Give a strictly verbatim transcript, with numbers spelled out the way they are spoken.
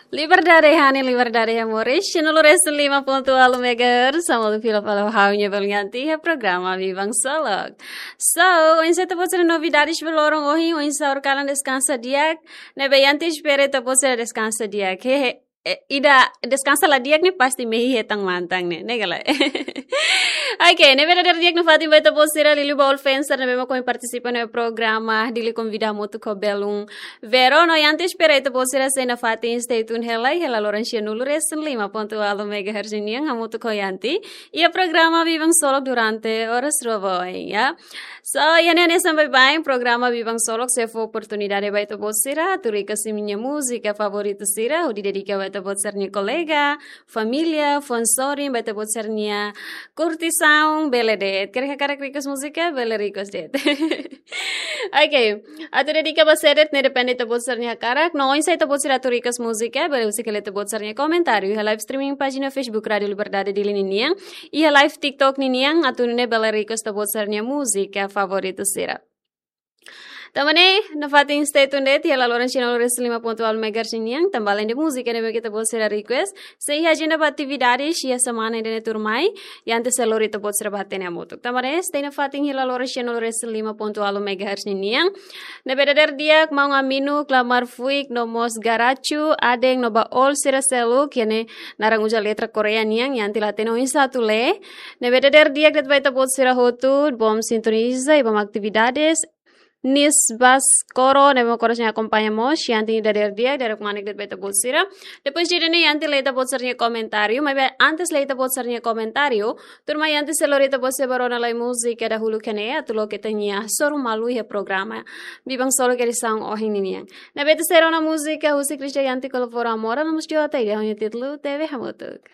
Liberdade hanesan, liberdade hamoris. Cien nulu resin lima ponto ualu megahertz, hamutuk fila fali ho ha'u-nia belun Yanti iha programa Biban Solok. So, oinsá ita-boot sira novidades ba loron ohin, oinsá horikalan deskansa di'ak, ne'ebé Yanti espera ita-boot sira deskansa di'ak. Hehe, eh, ida deskansa la di'ak ne'e pasti mehi hetan mantan ne'e, ne'e ka lae? Oke, ne'ebé dadeer di'ak nafatin ba ita-boot sira, liuliu ba all fans sira ne'ebé mak ohin partisipa iha programa, Dili Konvida hamutuk ho belun Vero, no Yanti espera ita-boot sira sei nafatin stay tune hela, hela loron cien nulu resin lima ponto ualu megahertz nian hamutuk ho Yanti iha programa Biban Solok durante oras rua ba oin, ya. So, iha ne'e hanesan baibain, programa Biban Solok sei fó oportunidade ba ita-boot sira atu request imi-nia múzika favoritu sira, hodi dedika ba ita-boot sira-nia kolega, família, fã sorin, ba ita-boot sira-nia kurtisaun, bele de'it. Karik hakarak request múzika, bele request de'it. Oke, atu dedika ba sé de'it ne'e depende ita-boot sira-nia hakarak. No oinsá ita-boot sira atu request múzika, bele husik hela ita-boot sira-nia komentáriu iha live streaming pájina Facebook Rádio Liberdade Dili ninian, iha live TikTok ninian, atu nune'e bele request ita-boot sira-nia múzika favoritu sira. Tanba ne'e, nafatin stay tuned de'it iha hela loron cien nulu resin lima ponto ualu megahertz nian, tanba alende múzika ne'ebé mak ita-boot sira request, sei iha ajenda ba atividades iha semana ida-ne'e tuirmai, Yanti sei lori ita-boot sira ba hatene hamutuk. Tanba ne'e, stay nafatin iha hela loron cien nulu resin lima ponto ualu megahertz nian. Ne'ebé dadeer di'ak, maun Aminu, Klamar Fuik, no mós Garachu, Aden, no ba all sira seluk, iha ne'e naran uza letra Korea nian, Yanti la hatene oinsá atu lee. Ne'ebé dadeer di'ak de'it ba ita-boot sira hotu, bom sintoniza, i bom atividades. Nis Bas Koro, ne'ebé mak oras ne'e akompaña mós, Yanti dadeer di'ak, dadeer kmanek de'it ba ita-boot sira. Depois de ida-ne'e Yanti lee ita-boot sira-nia komentáriu, maibé antes lee ita-boot sira-nia komentáriu, tuirmai Yanti sei lori ita-boot sira ba rona lai múzika dahuluk iha ne'e, atu loke ita-nia hasoru malu iha programa Biban Solok edisaun ohin ninian. Ne'ebé ita sei rona múzika husi Christian Yanti Colabora Amora, no mós Jota, i ho nia títulu Tebe Hamutuk.